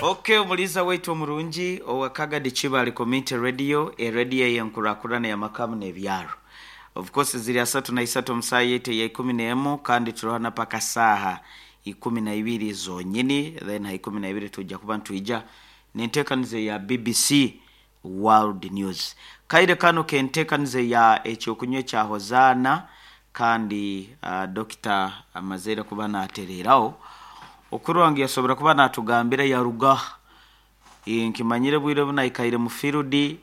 Ok omuliisa waitu omurungi owa Kagadi Kibale Community Radio, erediyo ey'enkurakurana y'amaka n'ebyaro. Of course ziri asatu na isatu omu saaha yaitu eya ikumi n'emu kandi turiho na paka saaha ikumi na ibiri zonyini then ha ikumi na ibiri twija kuba nitwija n'enteekaniza eya BBC World News. Kaire kanu k'enteekaniza eya Eky'okunywa ekya Hozaana kandi Dokita amazeire kuba natereeraho okurora ngu yasobora kuba natugambira yaruga Nkimanyire obwire obu naikaire mu field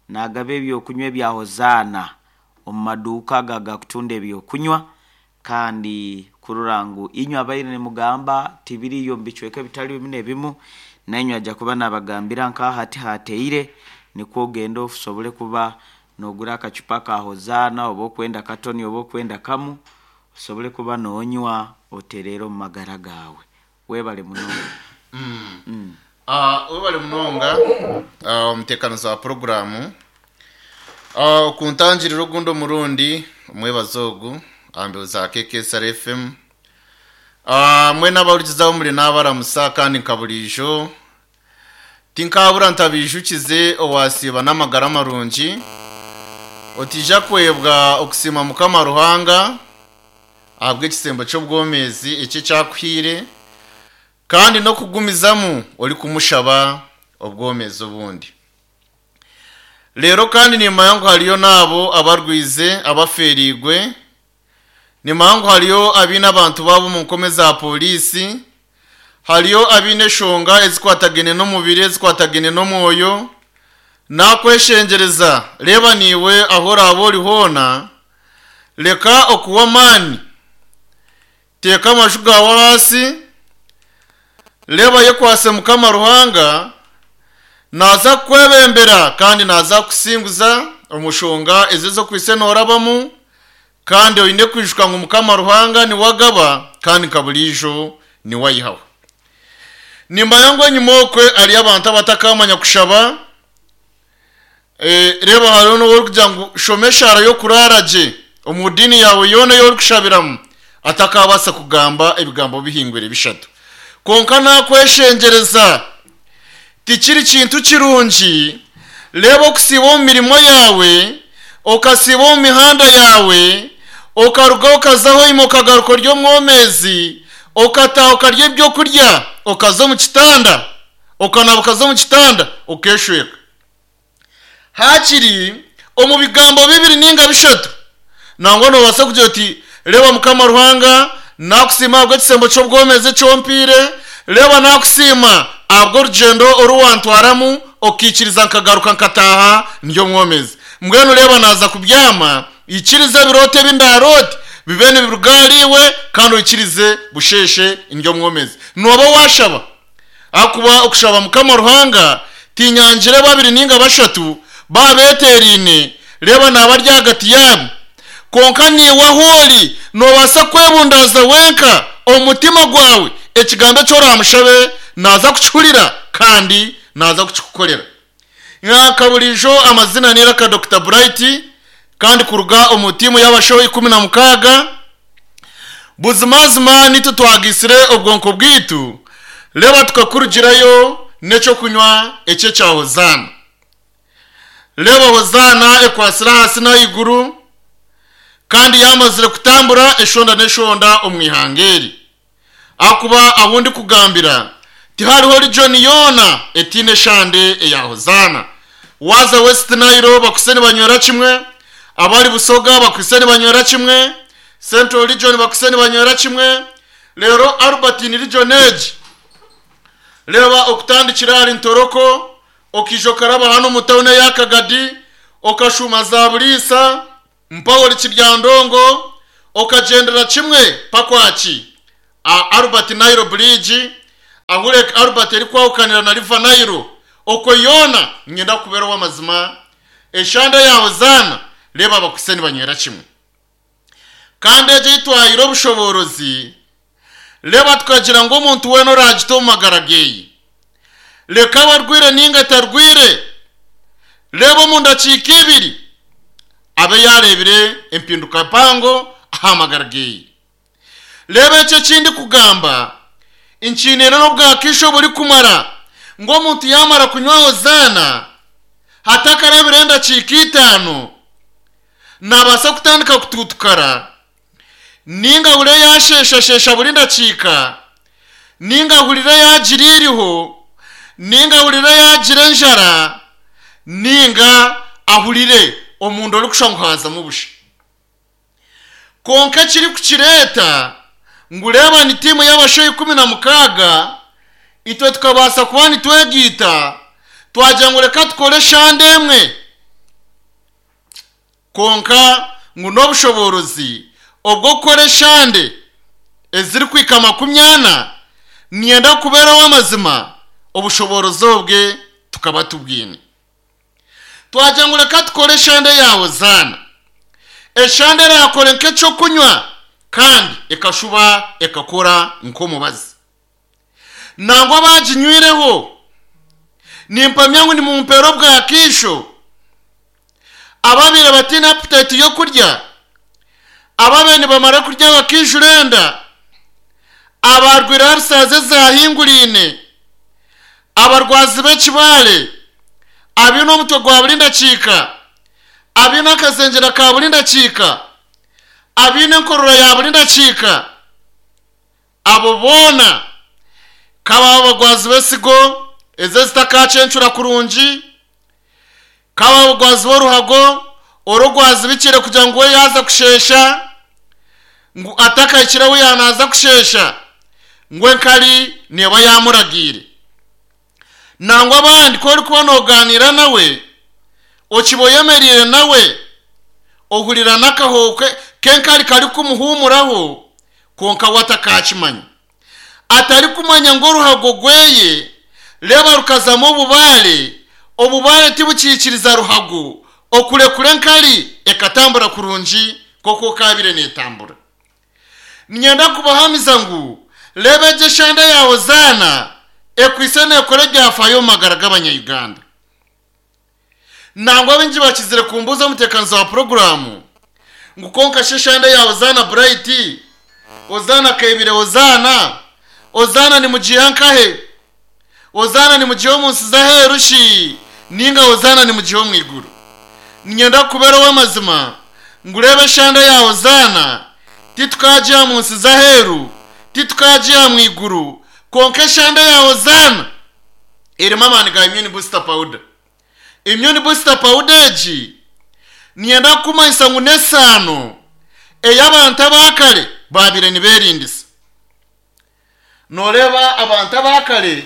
nagaba eby'okunywa ebya Hozaana omu maduuka ago agakutunda eby'okunywa Kandi kurora ngu inywe abaire nimugamba tibiriyo omu bicweka ebitali bimu n'ebimu, nainywe aja kuba nabagambira nka hati hateire, nikwo ogende osobole kuba nogura akacupa ka Hozaana oba okwenda katoni oba okwenda kamu, osobole kuba nonywa otereere omu magara gaawe. Webale munonga. Webale munonga omuteekanizi wa puroguraamu okuntangirira ogundi omurundi omwebazo ogu aha mbeho za KKSR FM. Mwena abahurikize ahu muri naabaramusa kandi nka buriijo tinkaabura ntabaijukize owaasiiba n'amagara marungi otaija kwebwa okusiima Mukama Ruhanga ahabw'ekisembo ky'obwomeezi eki eki akuhaire kandi n'okugumizamu orikumushaba obwomeezi obundi. Reero kandi nimmanya ngu hariyo n'abo abarwize, abafeereirwe, nimmanya ngu hariyo abaine abantu baabo omu nkome za poriisi, hariyo abaine enshonga ezikwatagaine n'omubiri, ezikwatagaine n'omwoyo. Naakweshengyereza, reeba naiwe ahu oraabe ori hoona, reka okuhwa amaani, Teeka amaju gaawe ahaasi, reeba yekwatse Mukama Ruhanga, naaza kukwebembera kandi naaza kukusinguza omu nshonga ezi ez'okwitse noorabamu, kandi oine kwijuka ngu Mukama Ruhanga niwe agaba kandi nka buriijo niwe aihaho. Nimmanya ngu enyima okwe hariyo abantu abatakamanya kushaba, Reeba hariho n'ou orikugira ngu shoma eshaara y'okuraara gye omu diini yaawe yoona ei orikushabiramu atakaabaasa kugamba ebigambo bihingwire bishatu. Kwonka naakweshengyereza, tikiri kintu kirungi reeba okusiiba omu mirimo yaawe, okasiiba omu mihanda yaawe, okaruga okaza hoima okagaruka ori omwomeezi, okataaha okarya ebyokurya okaza omu kitanda, okanaaba okaza omu kitanda okeeshweka. Haakiri omu bigambo bibiri nainga bishatu, nangwa noobaasa kugira oti, Reeba Mukama Ruhanga, naakusiima ahabw'ekisembo ky'obwomeezi eki ompaire. Reeba naakusiima ahabw'orugyendo oru wantwaramu okaikiriza nkagaruka nkataaha ndi omwomeezi. Mbwenu reeba naaza kubyama, ikiriza ebirooto ebi ndaaroote bibe nibiruga ahariiwe kandi oikirize busheeshe ndi omwomeezi. Nooba waashaba. Ahakuba okushaba Mukama Ruhanga tinyangire babiri nainga bashatu baabeeteeraine, reeba naaba ari ahagati yaabo. Kwonka naiwe ahu ori noobaasa kwebundaaza wenka omu mutima gwawe, ekigambo eki oraamushabe naaza kukihurira kandi naaza kukikukorera. Nka buriijo amazina n'eiraka Dokita Bright kandi kuruga omu tiimu y'abashaho 16. Buzimazima nitwe twagaitsire obwonko bwaitu reeba tukakurugirayo n'eky'okunywa eki ekya Hozaana. Reeba Hozaana ekwatsire ahansi n'ahaiguru kandi yaamazire kutambura eshonda n'eshonda omu ihanga eri. Ahakuba ahu ndikugambira tihariho region yoona etaine eshande eya Hozaana. Waaza West Nile bakwitse nibanywera kimwe, abari Busoga bakwitse nibanywera kimwe, Central region bakwitse nibanywera kimwe, reero Albertine region egi reeba okutandikira ahari Ntoroko okaija okaraba hanu omu tawuni eya Kagadi okashuuma za Buliisa, Mpaho ori kiryandongo okagyendera kimwe mpaka aha ki? Aha Albert Nile Bridge, ahu Lake Albert erikwahukanira na River Nile, okwo yoona niinyenda kukubeera ow'amazima, eshande ya Hozaana, reeba abakwitse nibanywera kimwe. Kandi egyo ei twahaire obushoboorozi, reeba tukagira ngu omuntu weena oraagite omu magara geeye, reka abe arwaire nainga atarwaire, reeba omu ndakiika ibiri abe yaareebire empinduka mpango aha magara geeye. Reeba eki eki ndikugamba, nkiine n'obwakaisho oburikumara. Ngu omuntu yaamara kunywa Hozaana, hatakarabire endakiika itaano, naabaasa kutandika kutuutukara, nainga ahurire yaasheeshasheesha buri ndakiika, nainga ahurire yaagira eiriho, nainga ahurire yaagira enjara, nainga ahurire omunda orikushusha ngu haazamu busha. Kwonka ekirikukireeta ngu reeba ni tiimu y'abashaija 16, itwe tukabaasa kuba nitwegaita twagira ngu reka tukore eshande emwe. Kwonka ngu n'obushoboorozi obw'okukora eshande ezirikuhika 40, niinyenda kubeera ow'amazima, obushoboorozi obwe tukaba tubwine. Twagira ngu reka tukore eshande ya Hozaana. Eshande eraakore nk'eky'okunywa kandi ekashuba ekakora nk'omubazi. Nangwa abaaginywireho, nimpamya ngu nimumpeera obwakaisho, ababaire bataine aputayiti y'okurya, ababaire nibamara kurya bakaijura enda, abaarwaire arisaazi ezaahinguraine, abarwazi b'ekibaare, abaine omutwe gwa buri ndakiika, abaine akazengyera ka buri ndakiika, abaine enkorora ya buri ndakiika, abo boona ka baaba abagwazi b'esigo ezi ezitakaacencura kurungi, ka baaba abagwazi b'oruhago oru orwazibikire kugira ngu we yaaza kusheesha, ngu atakahikire ahu yaanaaza kusheesha, ngu enkari neeba yaamuragiire. Nangwa abandi ku orikuba noogaaniira nawe, okiba oyemereire nawe, ohurira n'akahooho k'enkari karikumuhuumuraho, kwonka we atakaakimanya. Atarikumanya ngu oruhago rweye reeba rukazamu obubaare, obubaare tibukiikiriza ruhago okurekura enkari ekatambura kurungi nk'oku ekaabaire neetambura. Niinyenda kubahamiza ngu reeba egi eshande ya Hozaana ekwaitse neekora ebyafaayo omu magara g'abanya-Uganda. Nangwa baingi bakizire kumbuuza omuteekaniza wa puroguraamu ngu kwonka shi eshande ya Hozaana Bright, Hozaana Kaibire Hozaana, Hozaana nimugiiha nkahe? Hozaana nimugiiha omu nsi z'aheeru shi nainga Hozaana nimugiiha omu iguru? Niinyenda kukubeera ow'amazima ngu reeba eshande ya Hozaana titukaagiiha mu nsi z'aheeru, titukaagiiha mu iguru, kwonka eshande ya Hozaana erimu amaani ga Immune Booster Powder. Immune Booster Powder egi niinyenda kukumanyisa ngu n'esaano ei abantu aba kare baabaire nibeerindisa. Nooreeba abantu aba kare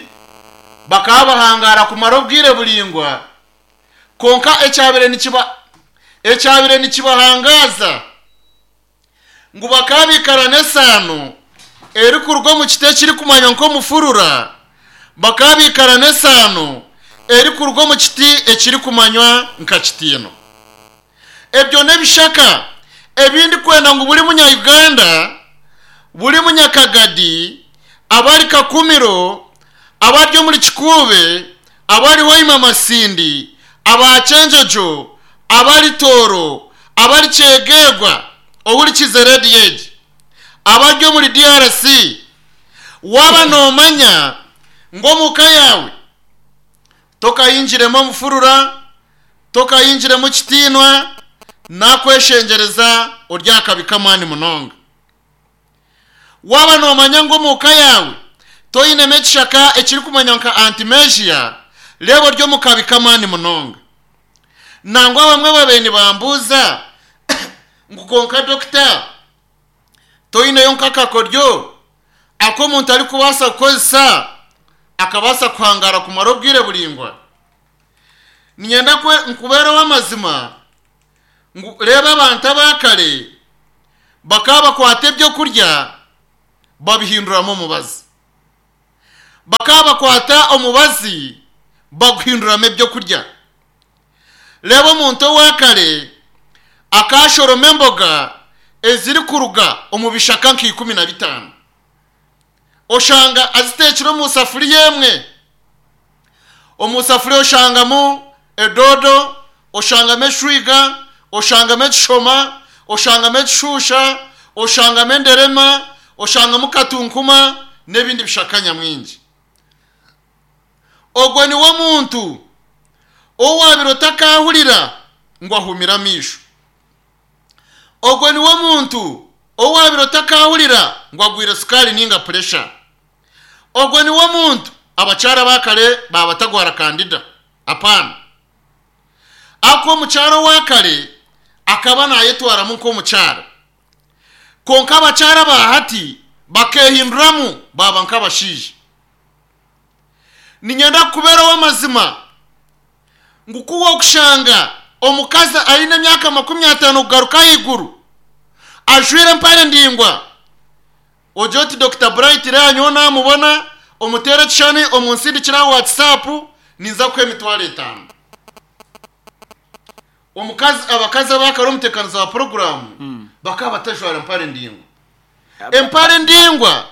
bakaba bahangaara kumara obwire buraingwa, kwonka ekyabaire nikiba ekyabaire nikibahangaaza ngu bakaba baikara n'esaano erikuruga omu kiti ekirikumanywa nk'omufurura, bakaba baikara n'esaano erikuruga omu kiti ekirikumanywa nka kitiino. Ebyo n'ebishaka ebi ndikwenda ngu buri munya-Uganda, buri munyakagadi, abari Kakumiro, abari omuri Kikuube, abari Hoima Masindi, aba Kyenjojo, abari Tooro, abari Kyegegwa, ohurikize rediyo egi, abari omuri DRC, waaba noomanya ngu omu ka yaawe tokahingiremu omufurura, Tokayingiremu kitiinwa, nakweshengyereza ori akabi k'amaani munonga. Waaba noomanya ngu omu ka yaawe toinemu ekishaka ekirikumanywa nka antimegia, reeba ori omu kabi k'amaani munonga. Nangwa abamwe babaire nibambuuza ngu kwonka dokita, toineyo nk'akakoryo aku omuntu arikubaasa kukozesa akabaasa kuhangaara kumara obwire buraingwa? Niinyenda nkubeere ow'amazima ngu reeba abantu aba kare bakaba bakwata ebyokurya babihinduramu omubazi. Bakaba bakwata omubazi baguhinduramu ebyokurya. Reeba omuntu owa kare akashoroma emboga ezirikuruga omu bishaka nka 15. Oshanga aziteekire omu safuriya emwe. Omu safuriya oshangamu edoodo, oshangamu eshwiga, oshangamu ekishoma, oshangamu ekishuusha, oshangamu enderema, oshangamu katunkuma n'ebindi bishaka nyamwingi. Ogwo niwe muntu ou waabire otakaahurira ngu ahumire amaisho. Ogwo niwe muntu ou waabire otakaahurira ngu agwire sukaari nainga puresha. Ogwo niwe muntu abakyara aba kare baaba batagwara kandida. Apaana. Ahakuba omukyara owa kare akaba naayetwaramu nk'omukyara. Kwonka abakyara aba hati bakeehinduramu baaba nk'abashaija. Niinyenda kukubeera ow'amazima ngu ku waakushanga omukazi aine emyaka 50 kugaruka ahaiguru ajwaire empare ndaingwa, ogire oti Dokita Bright reeba nyowe naamubona, omuteere ekishushani omunsindikire aha WhatsApp, ninza kukuha emitwaro etaano. Omukazi, abakazi abaakare omuteekaniza wa puroguraamu bakaba batajwara mpare ndaingwa. Empare ndaingwa.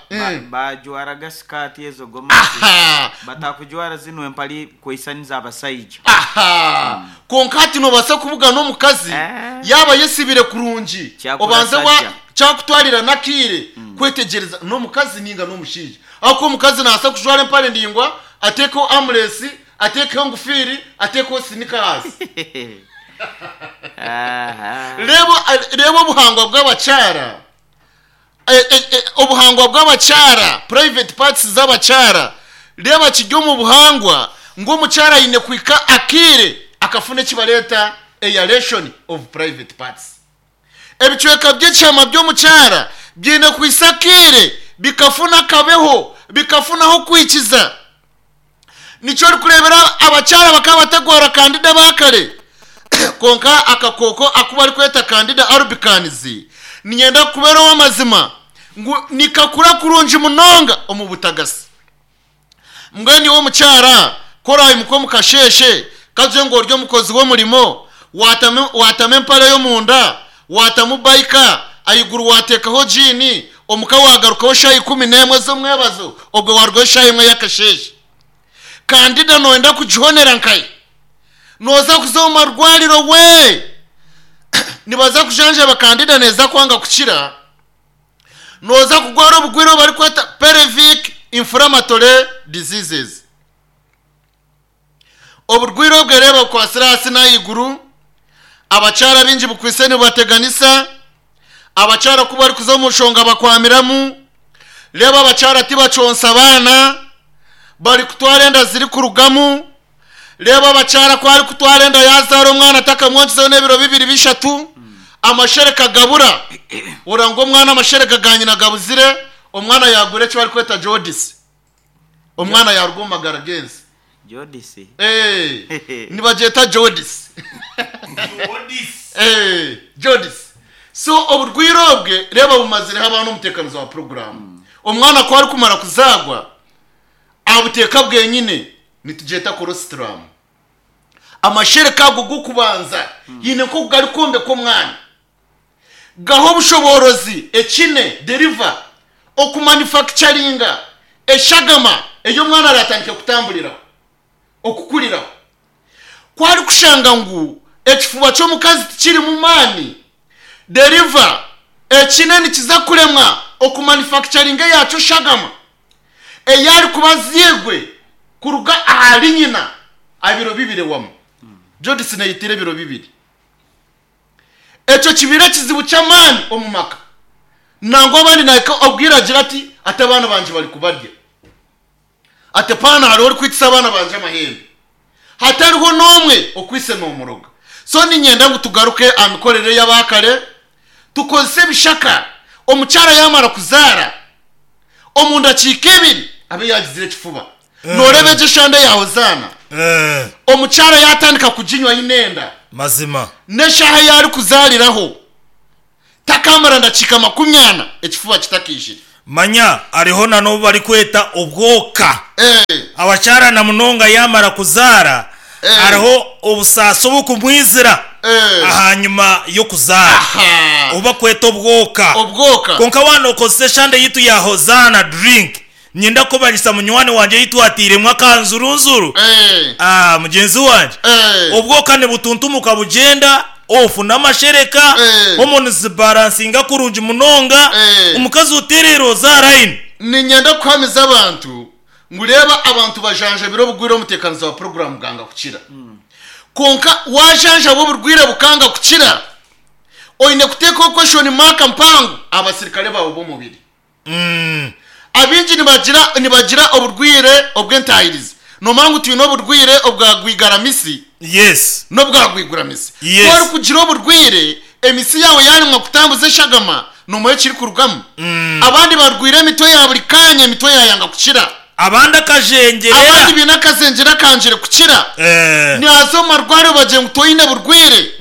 Baajwaraga sikaati ezo gomasi. Aha! Batakujwara zinu empare kwaisaniza abasaija. Aha! Kwonka hati noobaasa kubugana omukazi Eh. yaaba ayesibire kurungi, Kyakura obanze wa sajja. kyakutwarira n'akaire kwetegyereza n'omukazi nainga n'omushaija. Ahakuba omukazi naabaasa kujwara empare ndaingwa, ateekeho amuresi, ateekeho engufiiri, ateekeho sinika ahansi. Aha. Reeba reeba obuhangwa bw'abakyara, obuhangwa bw'abakyara, private parts z'abakyara, reeba kiri omu buhangwa ngu omukyara aine kuhika akaire akafuna eki bareeta aeration of private parts. Ebicweka by'ekihama by'omukyara biine kuhisa akaire bikafuna akabeho, bikafuna ah'okwikiza. Nikyo orikureebera abakyara bakaba batagwara kandida aba kare. Kwonka akakooko aku barikweta Candida albicans niinyenda kukubeera ow'amazima ngu nikakura kurungi munonga omu butagasi. Mbwenu iwe omukyara ku oraimuka omu kasheeshe kagye ngu ori omukozi w'omurimo, waatamu waatamu empare y'omunda, waatamu bayika, ahaiguru waateekaho jiini, omuka waagarukaho shaaha 11 z'omwebazo, obwo waarugaho shaaha emwe y'akasheeshe. Kandida nooyenda kugihonera nkahi? Nooza kuza omu marwariro we! Nibaza kujanjaba kandida neeza kwanga kukira. Nooza kugwara obugwire obu barikweta pelvic inflammatory diseases. Oburwaire obwe reeba bukwatsire ahansi n'ahaiguru, abakyara baingi bukwaitse nibubateganisa, abakyara ku barikuza omu nshonga bakwamiramu, reeba abakyara tibakyonsa baana, barikutwara enda zirikurugamu, reeba abakyara ku arikutwara enda yaazaara omwana atakamwonkizeho n'ebiro bibiri bishatu, amashereka gabura, oranga ngu omwana amashereka ga nyina gabuzire, omwana yaagwire eki barikweta jaundice. Omwana yaaruga omu magara g'ensi. Jodisi. Eh, nibagyeta Jodisi. Eh, Jodisi. So oburwaire obwe reeba bumazireho abaana omuteekanizi wa puroguraamu. Omwana ku arikumara kuzaagwa, abuteeka bwenyine nitugyeta colostrum. Amashereka ago g'okubanza haine nk'oku garikwombeka omwana. Gaha obushoboorozi ekine, deliver, okumanufacturinga eshagama ei omwana araatandike kutamburiraho, okukuriraho. Ku arikushanga ngu ekifuba ky'omukazi tikirimu maani, deliver, ekine nikiza kuremwa okumanufacturinga eyaakyo shagama ei arikuba azairwe kuruga ahari nyina aha biro bibiri wamma. Judith neeyitira ebiro bibiri. Ekyo kibaire ekizibu ky'amaani omu maka. Nangwa abandi nahika obwire agira ati, Ati abaana bangye bari kubarya. Ati paana hariho orikwitisa abaana bangye amahembe. Hatariho n'omwe okwitse nomuroga. So niinyenda ngu tugaruke aha mikorere y'abaakare, tukozese ebishaka, omukyara yaamara kuzaara, omu ndakiika ibiri abe yaagizire ekifuba. Nooreeba egyo eshande ya Hozaana? Omukyara yaatandika kuginywa aine enda. Mazima. N'eshaaha ei arikuzaariraho, takaamara ndakiika 40 ekifuba kitakaijire. Manya hariho na n'obu barikweta obwoka. Abakyara na munonga yaamara kuzaara, hariho obusaasi obukumwizira ahanyima y'okuzaara, obu bakweta obwoka. Obwoka. Kwonka waaba nookozesa eshande yaitu ya Hozaana drink, Niinyenda kukumanyisa munywani wangye ei twatairemu akanzurunzuru. Ah, mugyenzi wangye, obwoka nibutuntumuka bugyenda, ofuna amashereka, hormones zibalansinga kurungi munonga, omukazi otereera ozaara aine. Niinyenda kuhamiza abantu Ngu reeba abantu bajanjabire obugwire omuteekanizi wa puroguraamu bwanga kukira. Kwonka waajanjaba oburwaire bukanga kukira, oine kuteekaho question mark mpango aha basirikare baawe b'omubiri. Abaingi nibagira nibagira oburwaire obw'entaahirizi. Noomanya ngu twine oburwaire obwa rwigaramisi Yes. n'obwa rwiguramisi. Ku Yes. orikugira oburwaire, emisi yaawe yaaremwa kutambuza eshagama, noomanya ekirikurugamu? Abandi barwaire emitwe ya buri kaanya, emitwe yaayanga kukira. Abandi akajengyerera. Abandi baine akazengyera akangire kukira. Eh. Nihaza omu marwariro bagira ngu toine burwaire.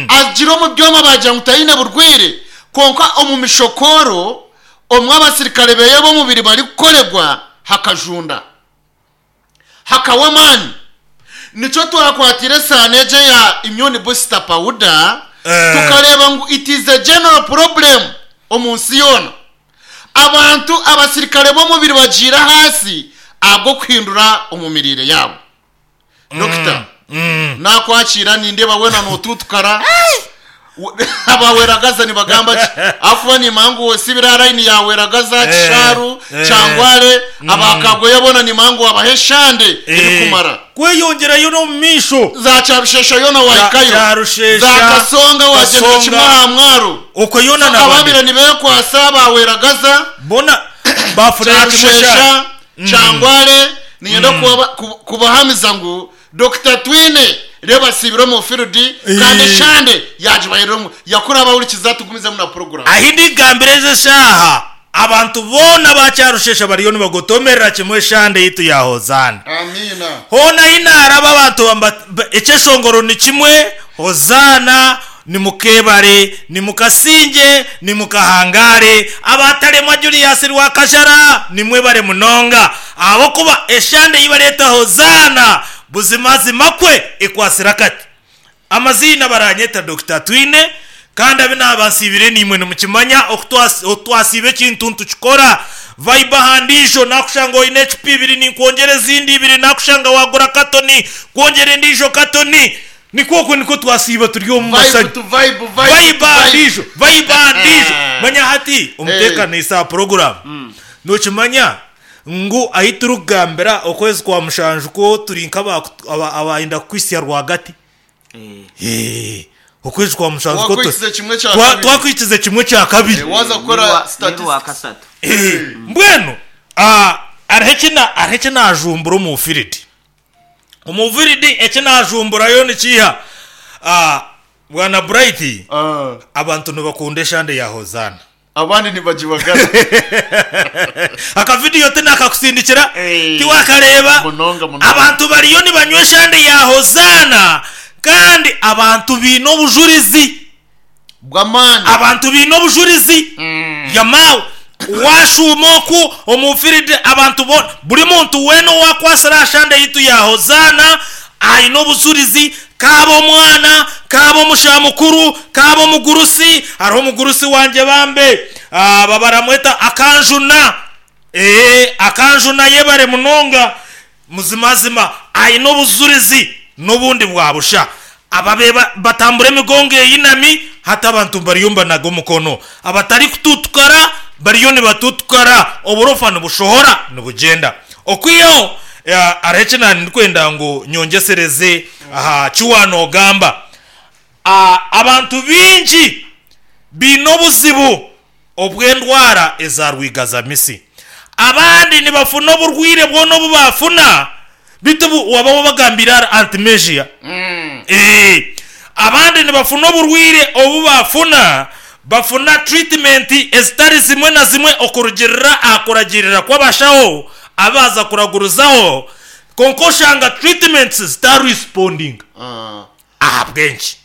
Agira omu byoma bagira ngu taine burwaire. Kwonka omu mishokooro omu abasirikare beye b'omubiri barikukoregwa hakajunda. Hakawa amaani. Nikyo twakwatire esaano egyo eya immune booster powder tukareeba ngu it is a general problem omu nsi yoona. Abantu abasirikare b'omubiri bagiire ahaasi ahabw'okuhindura omu miriire yaabo. Dokita, naakwakiira nindeeba weena nootuutukara. Abaweragaza nibagamba ki? Ahakuba nimanya ngu osibire aha layini ya Weragaza, Kishaaru, Kyangware, aba Kagoya boona nimanya ngu wabaha eshande erikumara. Kweyongyerayo n'omu maisho. Za Kyarushesha yoona wahikayo. Kyarushesha, Za Kasonga wagyendera kimwe Kasonga. aha mwaro. Okwo yoona So nabandi. ababaire nibeekwasa aba Weragaza, Boona bafunire kimwe eshande. Kyarushesha, Kyangware, niinyenda kubahamiza ngu Dokita Twine reeba asiibire omu field kandi eshande yagibahereremu. Yakura abahurikiza tugumizemu na puroguramu. Ahi ndigambira ezi eshaaha, abantu boona aba Kyarushesha bariyo nibagotomerera kimwe eshande yaitu ya Hozaana. Amiina. Hoona ahi naaraba abantu ekyeshongoro ni kimwe, Hozaana, Nimukebare, nimukasingye, nimukahangare, abataremwa Julius Rwakajara, nimwebare munonga, ahabw'okuba eshande ei bareeta Hozaana buzimazima kwe ekwatsire akati. Amaziina baranyeta Dokita Twine, kandi abu naaba nsiibire naimwe nimukimanya, oku twasiiba ekintu nitukikora. Vibe aha ndiijo, naakushanga oine ecupa ibiri ninkwongyera ezindi ibiri, naakushanga waagura katoni, nkwongyera endiijo katoni. Nikwo okwo nikwo twasiiba turi omu Vibe masanyu. to vibe, vibe to Vibe aha vibe. ndiijo, vibe aha ndiijo. Manya hati omuteekaniisa aha puroguraamu, nookimanya ngu ahi turikugambira okwezi kwa mushanju kwo turi nk'abaayenda kukuhitsya rwagati. Eh, okwezi kwa mushanju kwo Wakwikize kimwe kya kabiri. twakwikize kimwe kya kabiri. Waaza kukora N'orwa statistics. kasatu. Mbwenu hariho eki naajumbura omu fiiridi. Omu fiiridi eki naajumburayo nikiiha? Bwana Bright, abantu nibakunda eshande ya Hozaana. Abandi nibagibagara. Akavidiyo tinakakusindikira, Eh, tiwakareeba? munonga, munonga. Abantu bariyo nibanywa eshande ya Hozaana kandi abantu baine obujurizi. Bw'amaani. Abantu baine obujurizi. Yamaawe, waashuuma oku omu fiiridi abantu boona, buri muntu weena owaakwasire aha shande yaitu ya Hozaana aine obujurizi, kaabe omwana, kaabe omushaija mukuru, kaabe omugurusi. Hariho omugurusi wangye bambe, babaramweta Akanjuna. Ee, akanjuna yebare munonga. Muzimazima aine obujurizi n'obundi bwa busha. Ababaire batambura emigongo eyinami, hati abantu bariyo nibanaga omukono. Abatarikututukara bariyo nibatutukara, oburofa nibushohora nibugyenda. Okwihaho, hariho eki naandikwenda ngu nyongyesereze aha ki waanoogamba. Abantu baingi baine obuzibu obw'endwara eza rwigazamisi. Abandi nibafuna oburwaire bwona obu baafuna, beitu obu waaba wabagambiire ahari Artemisia. Ee, abandi nibafuna oburwaire obu baafuna, bafuna treatment ezitari zimwe na zimwe okurugiirira aha kuragiirira kw'abashaho abu baaza kuragurizaho, kwonka oshanga treatments zitaarespondinga. Ahabw'enki?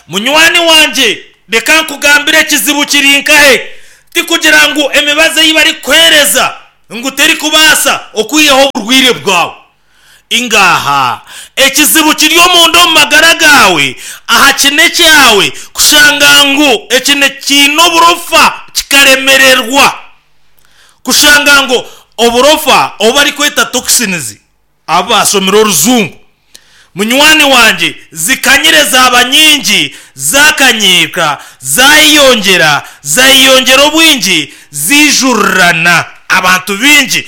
Munywani wangye, reka nkugambire ekizibu kiri nkahe. Tikugira ngu emibazi ei barikukuheereza ngu terikubaasa okwihaho oburwaire bwawe. Ingaaha. Ekizibu kiri omunda omu magara gaawe, aha kine kyawe, kushanga ngu ekine kiine oburofa kikaremererwa. Kushanga ngu oburofa obu barikweta toxins Abu baashomire orujungu. Munywani wangye, zikanyire zaaba nyingi, zaakanyiika, zaayeyongyera, zaayeyongyera obwingi, zaijurirana. Abantu baingi,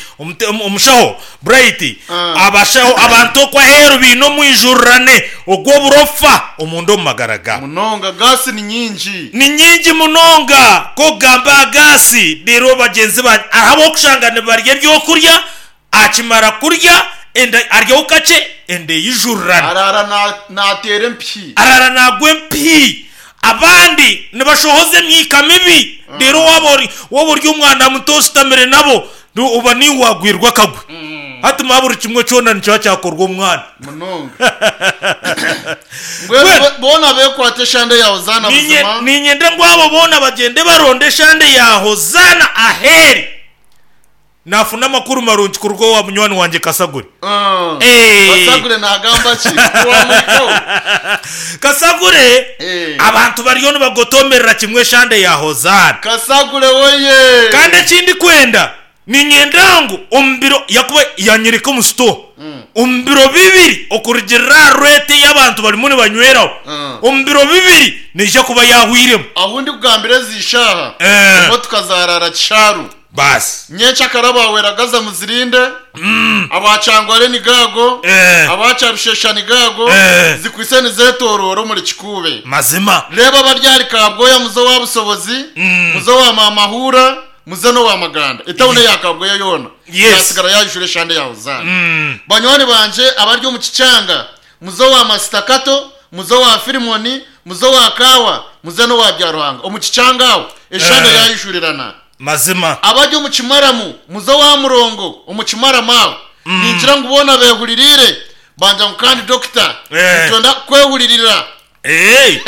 omushaho Bright, abashaho, abantu okwo aheeru baine omwijurirane ogw'oburofa omunda omu magara gaabo. Munonga, gaasi ni nyingi. Ni nyingi munonga. Ku okugamba aha gaasi, reero bagyenzi bangye hariho ab'okushanga nibarya ebyokurya, akimara kurya enda aryaho kakye enda eijurirana. Araara naateera empihi. Araara naagwa empihi. Abandi nibashohoza emyika mibi. Reero waaba ori waaba ori omwana muto oshutamire nabo, oba niiwe waagwirwa akagwe. Hati manya buri kimwe kyona nikiba kyakorwa omwana. Munonga. Mbwenu Mbwenu boona beekwate eshande ya Hozaana niinye buzima. niinyenda ngu abo boona bagyende baronde eshande ya Hozaana aheeri. Naafuna amakuru marungi kuruga owa munywani wangye Kasagure. Eeh. Kasagure naagamba ki? Tiwamuhikaho? Kasagure, Eh. abantu bariyo nibagotomerera kimwe eshande ya Hozaana. Kasagure woye! Kandi eki ndikwenda, niinyenda ngu omu biro, yakuba yanyereka omu sitoo, omu biro bibiri okurugiirira aha reeti ei abantu barimu nibanyweraho, omu biro bibiri neija kuba yaahwairemu. Ahu ndikugambira ezi ishaaha, Eh. emotoka zaaraara Kisharu. Baasi. Nyencakare abaweragaza muzirinde, aba Kyangware ni gaago, Eh. aba Kyarushesha ni gaago, Eh. zikwitse nizeetooroora omuri Kikuube. Mazima. Reeba abari ahari Kabwoya muze owa Busobozi, muze owa Maamahura, muze n'owa Maganda. Etawuni eya Kabwoya yoona Yes. yaatsigara yaijura eshande ya Hozaana. Banywani bangye abari omu Kikyanga, muze owa Masita Kato, muze owa Firimoni, muze owa Kaawa, muze n'owa Byaruhanga. Omu Kikyanga aho eshande Eh. yaijurirana. Mazima. Abari omu kimaramu, muze owa Murongo omu kimaramu aho. Ningira ngu boona beehuririire, bangira ngu kandi dokita, Eh. nitwenda kukwehuririra Eh,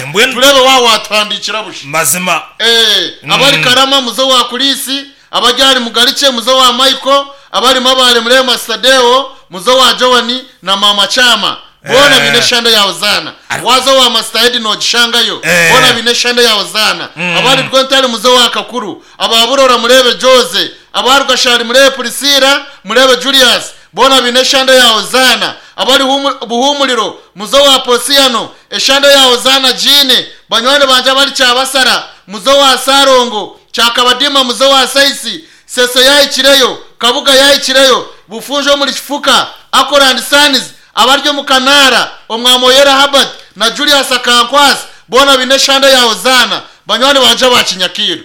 mbwenu tureebe waaba waatuhandiikira busha. mazima. Eh, abari Karama muze owa Kuriisi, abari ahari Mugarikye muze owa Michael, abari Mabaare mureebe Masita Deo, muze owa Joan na Maama Kyama. Boona baine eshande ya Hozaana. Waaza owa Masita Edi noogishangayo. Boona baine eshande ya Hozaana. Abari Rwentare muze owa Kakuru. Aba Burora mureebe Jose. Aba Rwashari mureebe Priscilla, mureebe Julius. Boona baine eshande ya Hozaana. Abari Buhumuriro muze owa Posiano. Eshande ya Hozaana Jeane. Banywani bangye abari Kyabasara muze owa Sarongo. Kyakabadiima muze owa Saisi. Seso yaahikireyo, Kabuga yaahikireyo, Bufunjo omuri Kifuka, Akoland Sons, Abari omu Kanaara, Omwami Oyera Herbert na Julius Akankwasa boona baine eshande ya Hozaana, banywani bangye aba Kinyakiiro.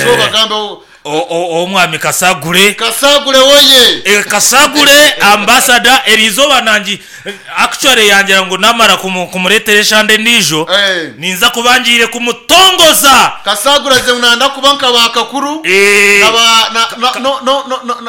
So bagambeho. Omwami Kasagure. Kasagure woye! Kasagure ambassador eriizooba nangi actually yangira ngu namara kumureetera eshande endiijo ninza kuba ngiire kumutongoza. Kasagure aze ngu nayenda kuba nka ba Kakuru na ba na na no no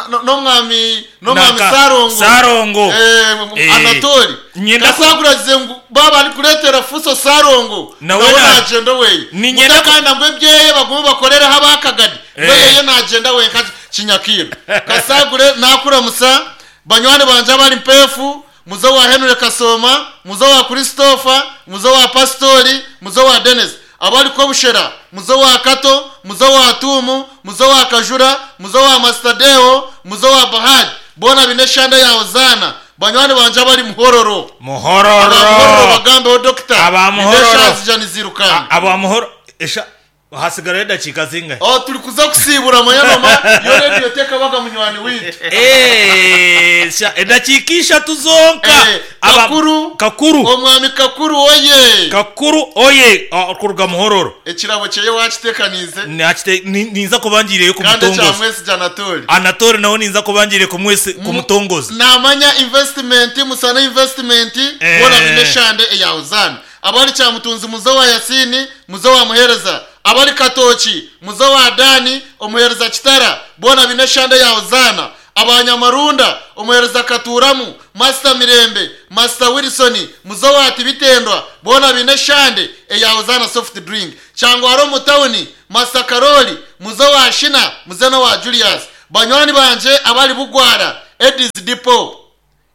no n'omwami N'omwami Nanka Sarongo. Sarongo. Eh, Eh, Anatoli. nyenda ku- Kasagura agize ngu baaba arikureetera Fuso Sarongo Nawe nawe na- naagyenda oweye. Niinyenda ku- Mutakanda ngu ebyeye bagume bakorereho abakagadi. Eh. We yeye naagyenda wenka Kinyakiiro. Kasagure naakuramusa banywani bangye abari Mpeefu, muze owa Henry Kasooma, muze owa Christopher, muze owa Pasitori, muze owa Denis. Abari Kobushera, muze owa Kato, muze owa Tuumu, muze owa Kajura, muze owa Masita Deo, muze owa Bahad, boona baine eshande ya Hozaana, banywani bangye abari Muhororo. Muhororo. Aba Muhororo bagambeho Dokita, Aba nindeeba Muhororo. eshaaha zija niziirukanka. Aba Muhororo, esha, hasigarayo edakiika zingahi? Oh, turi kuza kusiibura manya noma yo rediyo tekabaga munywani waitu. Eh, sha, edakiika ishatu zonka. Eh, Aba- Kakuru. Kakuru. Omwami Kakuru oye! Kakuru oye! Ah, kuruga Muhororo. Ekirabo kyeye wakitekaniize? Nakite, ni, ninza kuba ngiireyo Kandi ekya kumutongoza. Mwesigye Anatole. Anatole nawe ninza kuba ngiire kumwesi, kumutongoza. Namanya investment, Musana investment, Eh. boona baine eshande eya Hozaana. Abari Kyamutunzi muze owa Yasiini, muze owa Muheereza. Abari Katooki muze owa Daani, omuheereza Kitara, boona baine eshande eya Hozaana. Aba Nyamarunda, omuheereza Katuuramu, Masita Mirembe, Masita Wilson, muze owa Tibitendwa, boona baine eshande eya Hozaana Soft Drink. Kyangwara omu tauni, Masita Karoli, muze owa Shina, muze n'owa Julius. Banywani bangye abari Bugwara, Eddies Depot,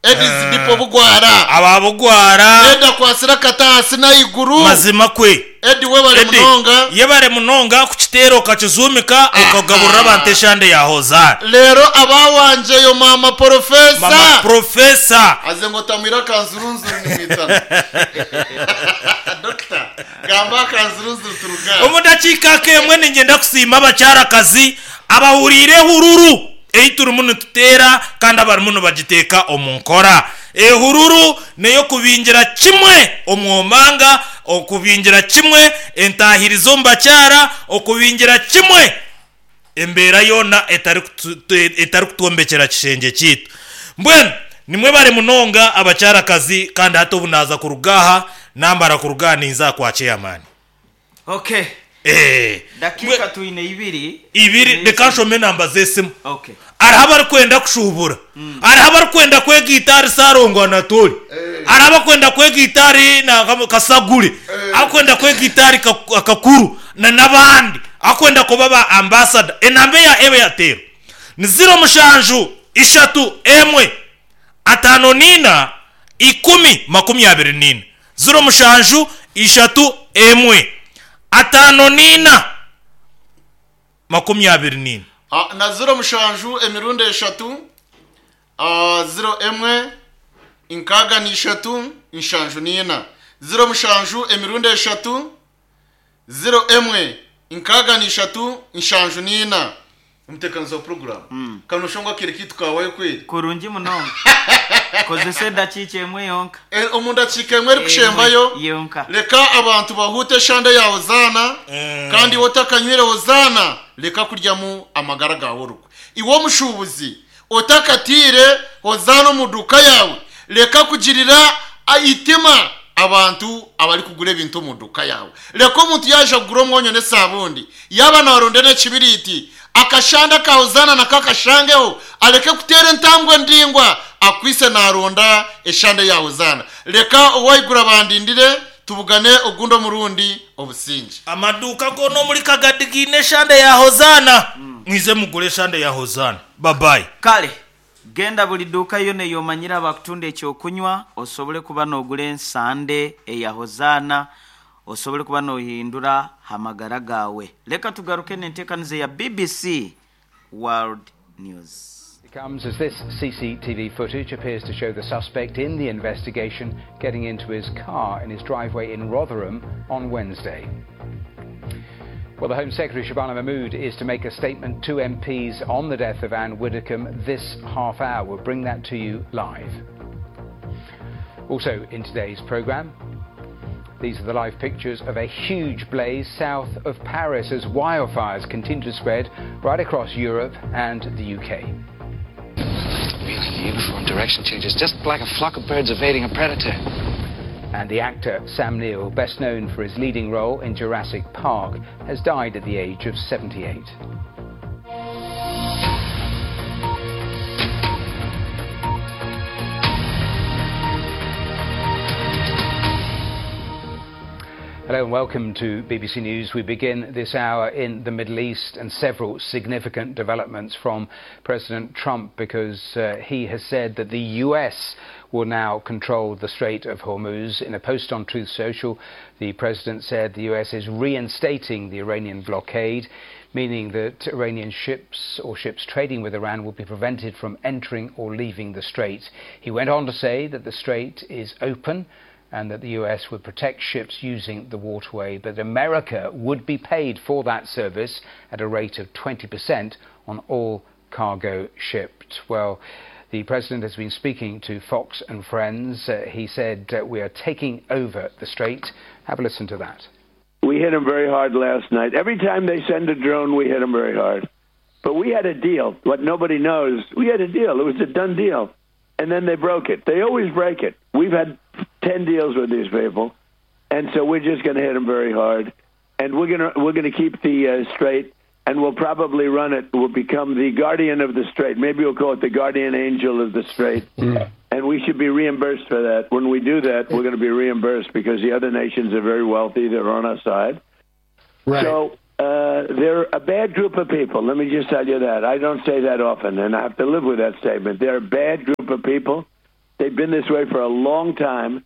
Eddies Depot Bugwara. Aba Bugwara. Eddy akwatsire akati ahansi n'ahaiguru. Mazima kwe. Eddy webare Eddy, munonga. yebare munonga kukiteera okakizuumika okagaburira abantu eshande ya Hozaana. Reero abawangyeyo Maama Porofesa. Mama Professor. Aze ngu otamwire akanzurunzuru nimwitana. Dokita, gamba akanzurunzuru turuge aha. Omu dakiika ak'emwe niinyenda kusiima abakyarakazi. Abahuriire ehururu ei turimu nituteera kandi abarimu nibagiteeka omu nkora. Ehururu n'ey'okubingira kimwe omwomanga, okubingira kimwe entaahirizi omu bakyara, okubingira kimwe embeera yoona etarikutwombekyera kishengye kyaitu. Mbwenu nimwebare munonga abakyarakazi kandi hati obu naaza kuruga aha, naamara kuruga aha ninza aha kwa chairman. Okay. Eh. Dakiika twine ibiri. Ibiri, reka nshome enamba z'esimu. Okay. Hariho abarikwenda kushuubura. Hariho abarikwenda kwegaita ahari Ssalongo Anatoli. Hariho abarikwenda kwegaita ahari nanka Kasagure. Abarikwenda kwegaita ahari Kakuru na n'abandi. Abarikwenda kuba ba ambasada. Enamba eya Airtel ni ziro mushanju ishatu emwe 54 24. 07 ishatu emwe 54 24. Na ziro mushanju emirundi eshatu, ziro emwe nkaaga na ishatu nshanju n'ina. Ziro mushanju emirundi eshatu, ziro emwe nkaaga na ishatu nshanju n'ina. Omuteekanizi wa puroguraamu, ka nooshusha ngu akaire kaitu kaahwayo kweri. Kurungi munonga. Kozesa edakiika emwe yonka. Omu dakiika emwe erikushembayo, Emwe yonka. reka abantu bahuute eshande ya Hozaana, kandi iwe otakanywire Hozaana, reka kuryamu amagara gaawe orugwe. Iwe omushuubuzi, otakataire Hozaana omu duuka yaawe, reka kugirira eitima abantu abarikugura ebintu omu duuka yaawe. Reka omuntu yaaija kugura omwonyo n'esaabundi, yaaba naaronda n'ekibiriiti, akashande aka Hozaana nako akashangeho, areke kuteera entambwe ndaingwa akwaitse naaronda eshande ya Hozaana. Reka ow'ahaiguru abandindire, tubugane ogundi omurundi. Obusingye. Amaduuka goona omuri Kagadi gaine eshande ya Hozaana. Mwije mugure eshande ya Hozaana. Babayi. Kale genda buli duuka yoona ei omanyire abakutunda eky'okunywa osobole kuba noogura ensande eya Hozaana osobole kuba noohindura ha magara gaawe. Leka tugaruke n'enteekaniza eya BBC World News. It comes as this CCTV footage appears to show the suspect in the investigation getting into his car in his driveway in Rotherham on Wednesday. Well, the Home Secretary Shabana Mahmood is to make a statement to MPs on the death of Anne Widdecombe this half hour. We'll bring that to you live. Also in today's programme, these are the live pictures of a huge blaze south of Paris as wildfires continue to spread right across Europe and the UK. Really uniform direction changes, just like a flock of birds evading a predator. And the actor Sam Neill, best known for his leading role in Jurassic Park, has died at the age of 78. Hello and welcome to BBC News. We begin this hour in the Middle East and several significant developments from President Trump, because he has said that the US will now control the Strait of Hormuz. In a post on Truth Social, the president said the US is reinstating the Iranian blockade, meaning that Iranian ships or ships trading with Iran will be prevented from entering or leaving the strait. He went on to say that the strait is open and that the US would protect ships using the waterway, but America would be paid for that service at a rate of 20% on all cargo shipped. Well, the president has been speaking to Fox and Friends. He said, we are taking over the strait. Have a listen to that. We hit them very hard last night. Every time they send a drone, we hit them very hard. But we had a deal. What nobody knows, we had a deal. It was a done deal. And then they broke it. They always break it. We've had 10 deals with these people, and so we're just going to hit them very hard. And we're going to keep the strait, and we'll probably run it. We'll become the guardian of the strait. Maybe we'll call it the guardian angel of the strait. And we should be reimbursed for that. When we do that, we're going to be reimbursed because the other nations are very wealthy. They're on our side. Right. So they're a bad group of people. Let me just tell you that. I don't say that often, and I have to live with that statement. They're a bad group of people. They've been this way for a long time,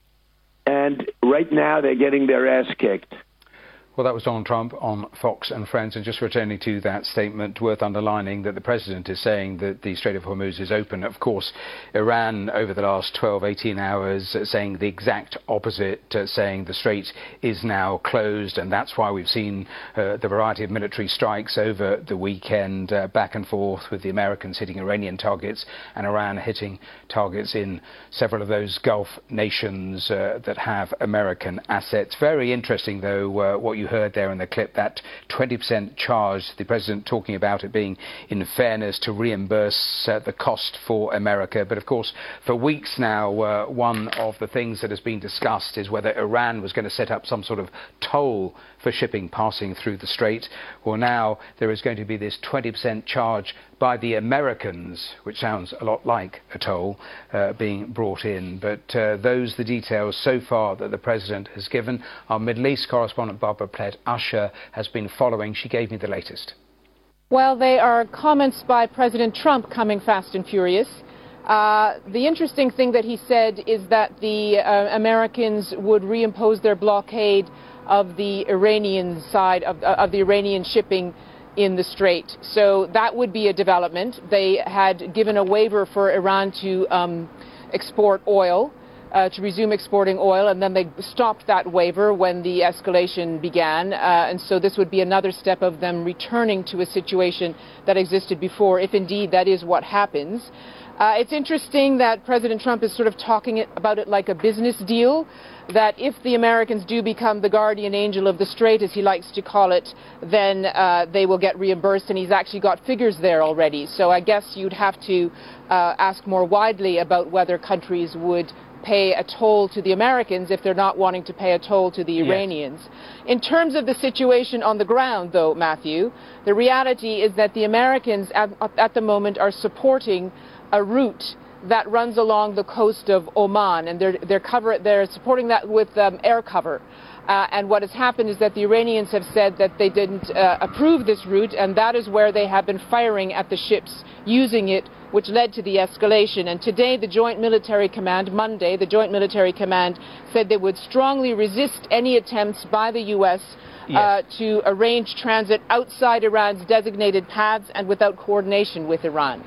and right now they're getting their ass kicked. Well, that was Donald Trump on Fox and Friends. And just returning to that statement, worth underlining that the president is saying that the Strait of Hormuz is open. Of course, Iran, over the last 12, 18 hours, saying the exact opposite, saying the strait is now closed. And that's why we've seen the variety of military strikes over the weekend, back and forth, with the Americans hitting Iranian targets and Iran hitting targets in several of those Gulf nations that have American assets. Very interesting, though, what you heard there in the clip, that 20% charge, the president talking about it being in fairness to reimburse the cost for America. But of course, for weeks now, one of the things that has been discussed is whether Iran was going to set up some sort of toll for shipping passing through the strait. Well, now there is going to be this 20% charge by the Americans, which sounds a lot like a toll, being brought in. But those are the details so far that the president has given. Our Middle East correspondent, Barbara Plett-Usher, has been following. She gave me the latest. Well, they are comments by President Trump coming fast and furious. The interesting thing that he said is that the Americans would reimpose their blockade of the Iranian side of the Iranian shipping in the strait. So that would be a development. They had given a waiver for Iran to export oil, to resume exporting oil, and then they stopped that waiver when the escalation began. And so this would be another step of them returning to a situation that existed before, if indeed that is what happens. It's interesting that President Trump is sort of talking about it like a business deal, that if the Americans do become the guardian angel of the strait, as he likes to call it, then they will get reimbursed, and he's actually got figures there already. So I guess you'd have to ask more widely about whether countries would pay a toll to the Americans if they're not wanting to pay a toll to the Iranians. Yes. In terms of the situation on the ground, though, Matthew, the reality is that the Americans at the moment are supporting a route that runs along the coast of Oman, and they're supporting that with air cover. And what has happened is that the Iranians have said that they didn't approve this route, and that is where they have been firing at the ships using it, which led to the escalation. And today, the Joint Military Command, Monday, the Joint Military Command said they would strongly resist any attempts by the U.S. To arrange transit outside Iran's designated paths and without coordination with Iran.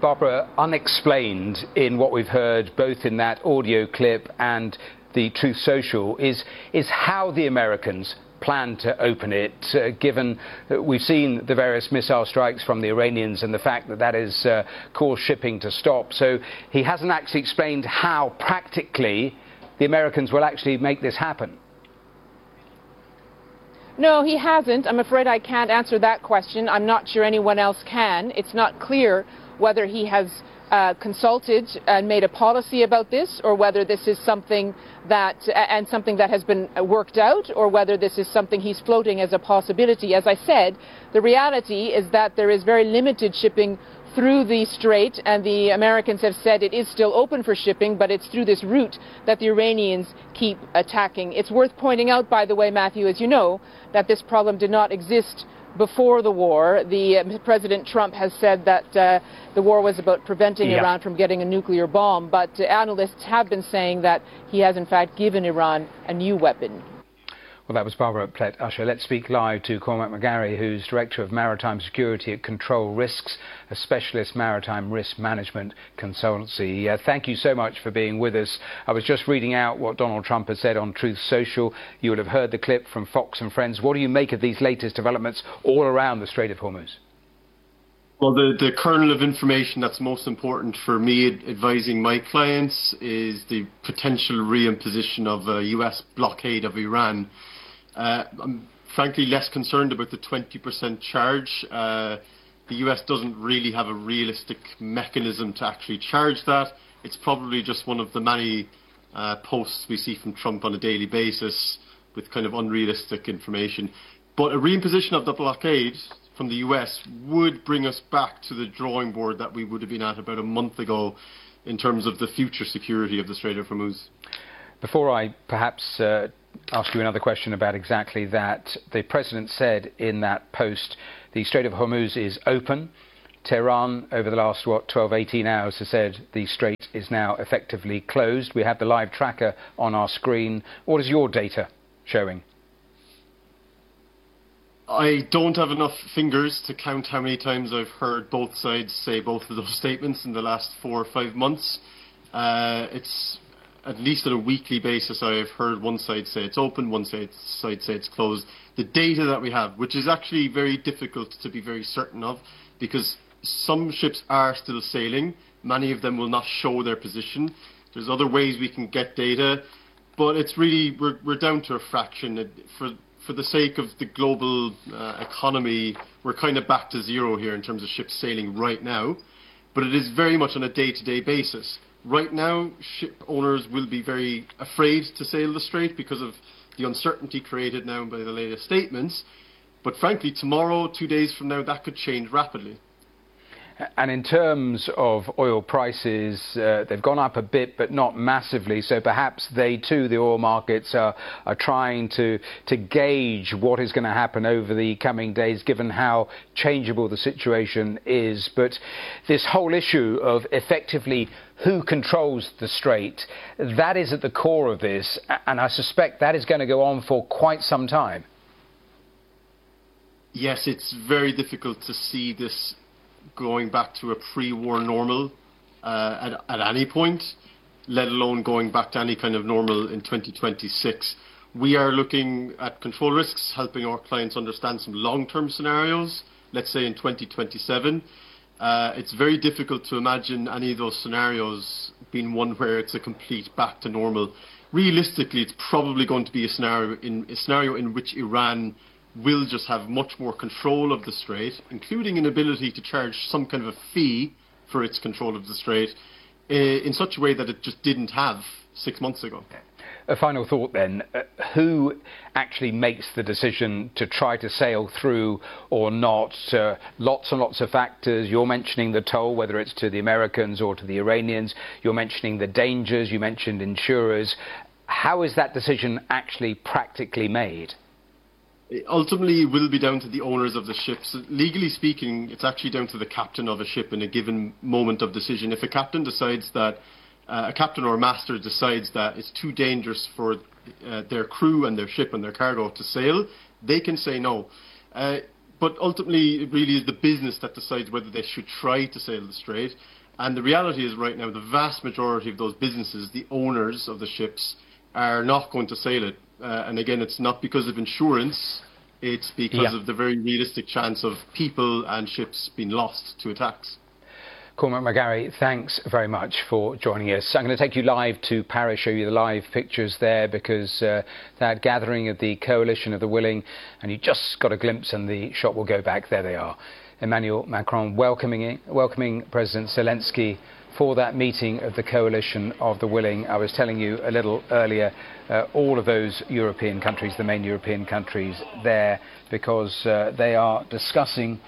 Barbara, unexplained in what we've heard both in that audio clip and the Truth Social is how the Americans plan to open it, given that we've seen the various missile strikes from the Iranians and the fact that that has caused shipping to stop. So he hasn't actually explained how practically the Americans will actually make this happen. No, he hasn't. I'm afraid I can't answer that question. I'm not sure anyone else can. It's not clear whether he has consulted and made a policy about this, or whether this is something that something that has been worked out, or whether this is something he's floating as a possibility. As I said, the reality is that there is very limited shipping through the strait, and the Americans have said it is still open for shipping, but it's through this route that the Iranians keep attacking. It's worth pointing out, by the way, Matthew, as you know, that this problem did not exist before the war. The President Trump has said that the war was about preventing Iran from getting a nuclear bomb, but analysts have been saying that he has in fact given Iran a new weapon. Well, that was Barbara Plett-Usher. Let's speak live to Cormac McGarry, who's Director of Maritime Security at Control Risks, a specialist maritime risk management consultancy. Thank you so much for being with us. I was just reading out what Donald Trump has said on Truth Social. You will have heard the clip from Fox and Friends. What do you make of these latest developments all around the Strait of Hormuz? Well, the kernel of information that's most important for me advising my clients is the potential reimposition of a US blockade of Iran. I'm frankly less concerned about the 20% charge. The US doesn't really have a realistic mechanism to actually charge that. It's probably just one of the many posts we see from Trump on a daily basis with kind of unrealistic information. But a reimposition of the blockade from the US would bring us back to the drawing board that we would have been at about a month ago in terms of the future security of the Strait of Hormuz. Before I perhaps ask you another question about exactly that, the president said in that post the Strait of Hormuz is open. Tehran, over the last, 12, 18 hours, has said the strait is now effectively closed. We have the live tracker on our screen. What is your data showing? I don't have enough fingers to count how many times I've heard both sides say both of those statements in the last 4 or 5 months. It's at least on a weekly basis I have heard one side say it's open, one side say it's closed. The data that we have, which is actually very difficult to be very certain of, because some ships are still sailing. Many of them will not show their position. There's other ways we can get data, but it's really, we're down to a fraction. For the sake of the global economy, we're kind of back to zero here in terms of ships sailing right now, but it is very much on a day-to-day basis. Right now, ship owners will be very afraid to sail the strait because of the uncertainty created now by the latest statements. But frankly, tomorrow, 2 days from now, that could change rapidly. And in terms of oil prices, they've gone up a bit, but not massively. So perhaps they too, the oil markets, are trying to gauge what is going to happen over the coming days, given how changeable the situation is. But this whole issue of effectively who controls the strait, that is at the core of this. And I suspect that is going to go on for quite some time. Yes, it's very difficult to see this going back to a pre-war normal at any point, let alone going back to any kind of normal in 2026. We are looking at control risks, helping our clients understand some long-term scenarios, let's say in 2027. It's very difficult to imagine any of those scenarios being one where it's a complete back to normal. Realistically, it's probably going to be a scenario in which Iran will just have much more control of the strait, including an ability to charge some kind of a fee for its control of the strait, in such a way that it just didn't have 6 months ago. A final thought then. Who actually makes the decision to try to sail through or not? Lots and lots of factors. You're mentioning the toll, whether it's to the Americans or to the Iranians. You're mentioning the dangers. You mentioned insurers. How is that decision actually practically made? Ultimately, it will be down to the owners of the ships. Legally speaking, it's actually down to the captain of a ship in a given moment of decision. If a captain decides that, a captain or a master decides that it's too dangerous for their crew and their ship and their cargo to sail, they can say no. But ultimately, it really is the business that decides whether they should try to sail the strait. And the reality is right now, the vast majority of those businesses, the owners of the ships, are not going to sail it. And again, it's not because of insurance, it's because of the very realistic chance of people and ships being lost to attacks. Cormac McGarry, thanks very much for joining us. I'm going to take you live to Paris, show you the live pictures there, because that gathering of the Coalition of the Willing, and you just got a glimpse and the shot will go back. There they are. Emmanuel Macron welcoming President Zelensky for that meeting of the Coalition of the Willing. I was telling you a little earlier, all of those European countries, the main European countries there, because they are discussing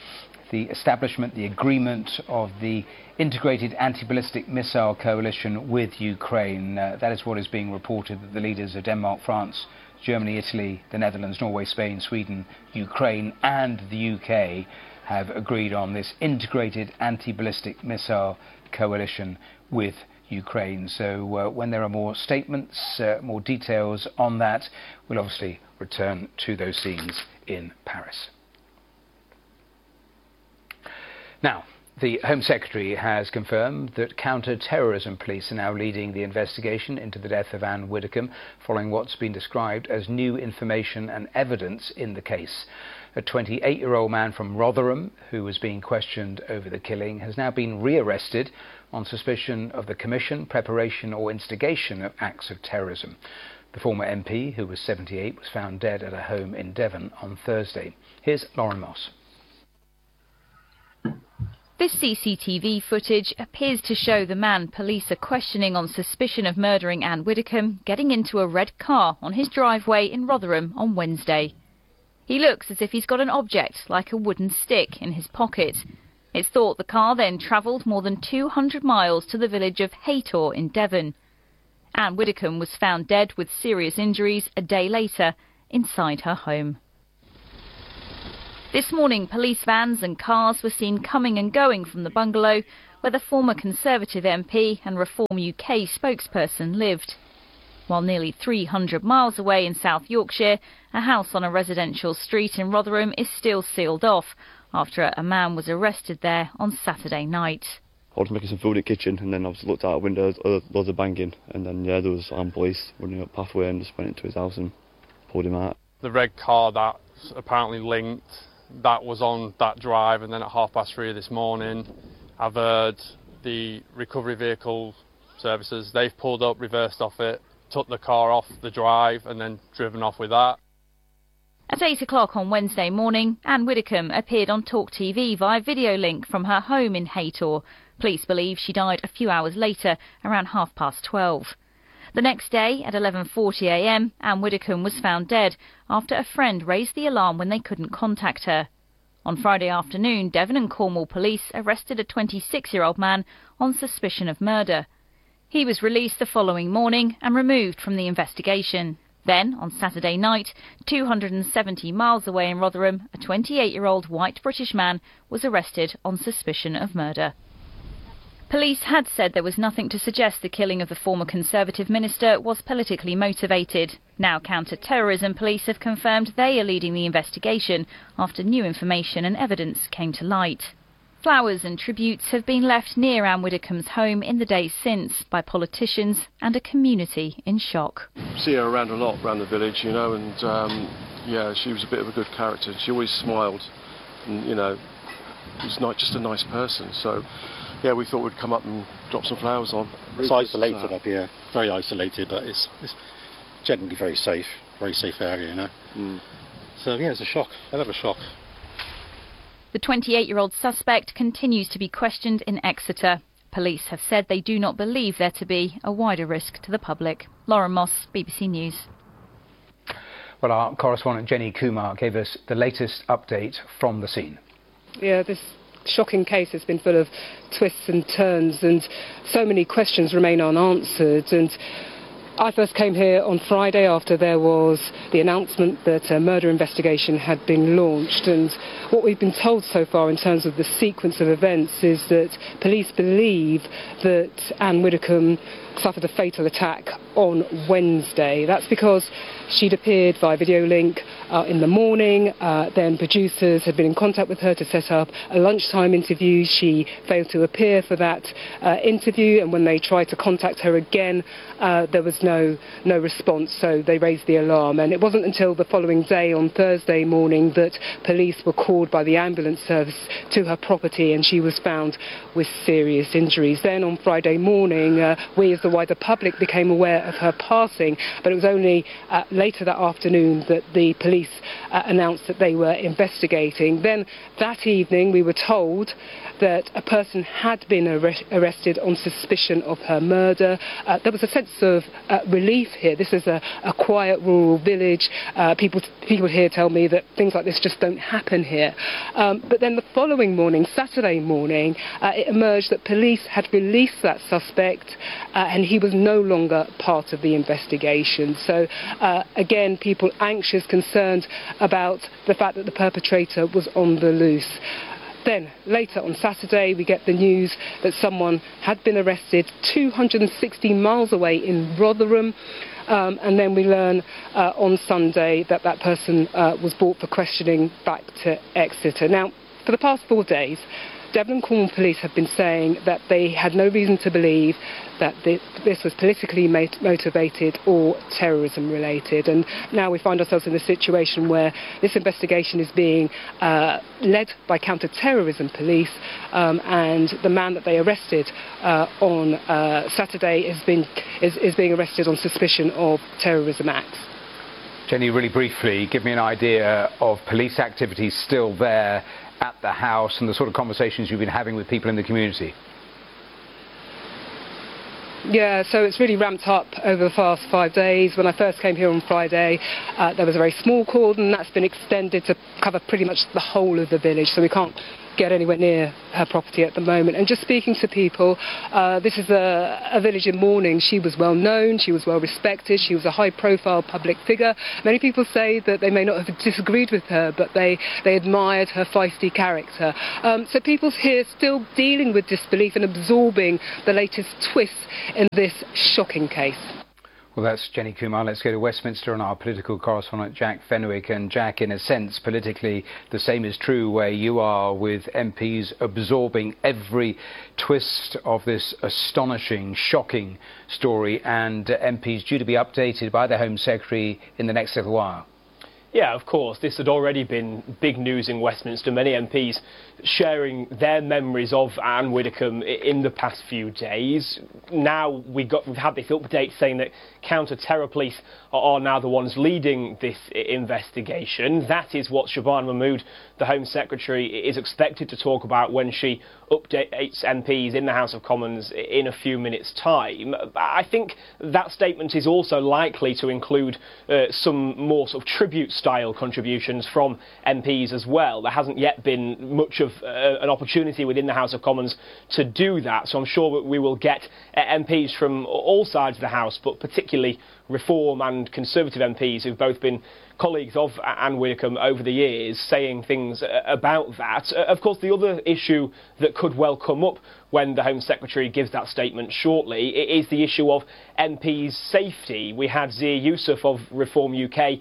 the establishment, the agreement of the Integrated Anti-Ballistic Missile Coalition with Ukraine. That is what is being reported, that the leaders of Denmark, France, Germany, Italy, the Netherlands, Norway, Spain, Sweden, Ukraine and the UK have agreed on this Integrated Anti-Ballistic Missile Coalition with Ukraine. So when there are more statements, more details on that, we'll obviously return to those scenes in Paris. Now, the Home Secretary has confirmed that counter-terrorism police are now leading the investigation into the death of Anne Widdecombe following what's been described as new information and evidence in the case. A 28-year-old man from Rotherham who was being questioned over the killing has now been rearrested on suspicion of the commission, preparation or instigation of acts of terrorism. The former MP, who was 78, was found dead at a home in Devon on Thursday. Here's Lauren Moss. This CCTV footage appears to show the man police are questioning on suspicion of murdering Anne Widdecombe getting into a red car on his driveway in Rotherham on Wednesday. He looks as if he's got an object like a wooden stick in his pocket. It's thought the car then travelled more than 200 miles to the village of Haytor in Devon. Anne Widdecombe was found dead with serious injuries a day later inside her home. This morning, police vans and cars were seen coming and going from the bungalow where the former Conservative MP and Reform UK spokesperson lived. While nearly 300 miles away in South Yorkshire, a house on a residential street in Rotherham is still sealed off after a man was arrested there on Saturday night. I was making some food in the kitchen and then obviously looked out the window, loads of banging, and then yeah, there was armed police running up pathway and just went into his house and pulled him out. The red car that's apparently linked, that was on that drive, and then at 3:30 this morning, I've heard the recovery vehicle services, they've pulled up, reversed off it, took the car off the drive and then driven off with that. At 8 o'clock on Wednesday morning, Anne Widdecombe appeared on Talk TV via video link from her home in Haytor. Police believe she died a few hours later, around 12:30. The next day, at 11:40 a.m, Anne Widdecombe was found dead after a friend raised the alarm when they couldn't contact her. On Friday afternoon, Devon and Cornwall police arrested a 26-year-old man on suspicion of murder. He was released the following morning and removed from the investigation. Then, on Saturday night, 270 miles away in Rotherham, a 28-year-old white British man was arrested on suspicion of murder. Police had said there was nothing to suggest the killing of the former Conservative minister was politically motivated. Now counter-terrorism police have confirmed they are leading the investigation after new information and evidence came to light. Flowers and tributes have been left near Anne Widdecombe's home in the days since by politicians and a community in shock. See her around a lot around the village, you know, and yeah, she was a bit of a good character. She always smiled and, you know, was not just a nice person. So, yeah, we thought we'd come up and drop some flowers on. It's isolated up here, very isolated, but it's generally very safe area, you know. Mm. So, yeah, it's a shock, a bit of a shock. The 28-year-old suspect continues to be questioned in Exeter. Police have said they do not believe there to be a wider risk to the public. Lauren Moss, BBC News. Well, our correspondent Jenny Kumar gave us the latest update from the scene. Yeah, this shocking case has been full of twists and turns, and so many questions remain unanswered. And I first came here on Friday after there was the announcement that a murder investigation had been launched, and what we've been told so far in terms of the sequence of events is that police believe that Anne Widdecombe suffered a fatal attack on Wednesday. That's because she'd appeared via video link in the morning, then producers had been in contact with her to set up a lunchtime interview. She failed to appear for that interview, and when they tried to contact her again, there was no response, so they raised the alarm. And it wasn't until the following day, on Thursday morning, that police were called by the ambulance service to her property, and she was found with serious injuries. Then on Friday morning, we as the wider public became aware of her passing, but it was only later that afternoon that the police announced that they were investigating. Then that evening we were told that a person had been arrested on suspicion of her murder. There was a sense of relief here. This is a quiet rural village. People here tell me that things like this just don't happen here. But then the following morning, Saturday morning, it emerged that police had released that suspect and he was no longer part of the investigation. So again, people anxious, concerned about the fact that the perpetrator was on the loose. Then, later on Saturday, we get the news that someone had been arrested 260 miles away in Rotherham. And then we learn on Sunday that that person was brought for questioning back to Exeter. Now, for the past 4 days, Devon and Cornwall Police have been saying that they had no reason to believe that this was politically motivated or terrorism related. And now we find ourselves in a situation where this investigation is being led by counter-terrorism police, and the man that they arrested on Saturday is being arrested on suspicion of terrorism acts. Jenny, really briefly, give me an idea of police activities still there at the house and the sort of conversations you've been having with people in the community. Yeah, so it's really ramped up over the past 5 days. When I first came here on Friday, there was a very small cordon. That's been extended to cover pretty much the whole of the village, so we can't get anywhere near her property at the moment. And just speaking to people, this is a village in mourning. She was well known, she was well respected, she was a high profile public figure. Many people say that they may not have disagreed with her, but they admired her feisty character. So people here still dealing with disbelief and absorbing the latest twists in this shocking case. Well, that's Jenny Kumar. Let's go to Westminster and our political correspondent, Jack Fenwick. And Jack, in a sense, politically, the same is true where you are, with MPs absorbing every twist of this astonishing, shocking story, and MPs due to be updated by the Home Secretary in the next little while. Yeah, of course. This had already been big news in Westminster. Many MPs sharing their memories of Anne Widdecombe in the past few days. Now we've had this update saying that counter-terror police are now the ones leading this investigation. That is what Shabana Mahmood, the Home Secretary, is expected to talk about when she updates MPs in the House of Commons in a few minutes' time. I think that statement is also likely to include some more sort of tribute-style contributions from MPs as well. There hasn't yet been much of an opportunity within the House of Commons to do that, so I'm sure that we will get MPs from all sides of the House, but particularly Reform and Conservative MPs who've both been colleagues of Anne Widdecombe over the years saying things about that. Of course, the other issue that could well come up when the Home Secretary gives that statement shortly is the issue of MPs' safety. We had Zia Yusuf of Reform UK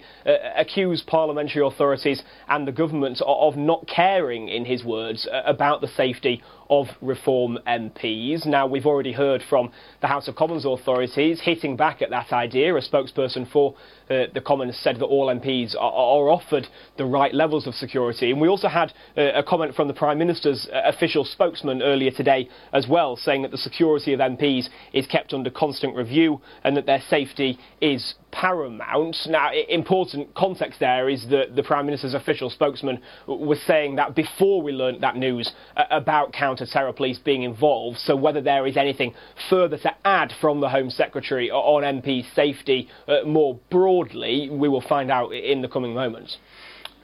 accuse parliamentary authorities and the government of not caring, in his words, about the safety of Reform MPs. Now, we've already heard from the House of Commons authorities hitting back at that idea. A spokesperson for the Commons said that all MPs are offered the right levels of security. And we also had a comment from the Prime Minister's official spokesman earlier today as well, saying that the security of MPs is kept under constant review and that their safety is paramount. Now, important context there is that the Prime Minister's official spokesman was saying that before we learnt that news about counter-terror police being involved. So whether there is anything further to add from the Home Secretary on MP safety more broadly, we will find out in the coming moments.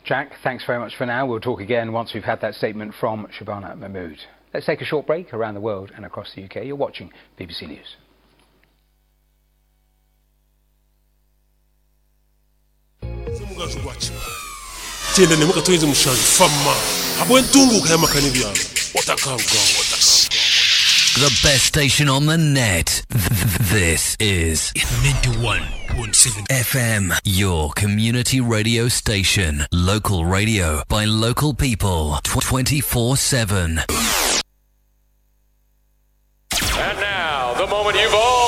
Jack, thanks very much for now. We'll talk again once we've had that statement from Shabana Mahmood. Let's take a short break. Around the world and across the UK, you're watching BBC News. The best station on the net. This is 91.7 FM, your community radio station. Local radio by local people 24/7. And now, the moment you've all